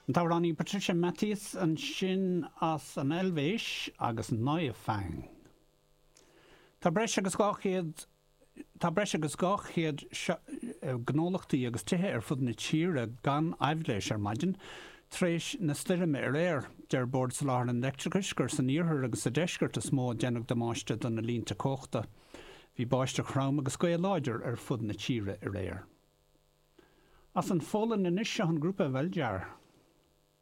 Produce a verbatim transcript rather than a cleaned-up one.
An t-amhránaí Patricia Matthias ansin as an Eilvéis agus Neuanfang. Tá breis agus dhá chéad Tá breis agus dhá chéad gnólachtaí agus tithe ar fud na tíre gan aibhléis ar maidin tar éis na stoirme aréir. Deir Bord Soláthair an Leictreachais gur san iarthar agus sa deisceart is mó a déanadh damáiste do na línte cumhachta. Bhí báisteach throm agus gaoth láidir ar fud na tíre aréir. As an Pholainn anois seo an grúpa Weldziar.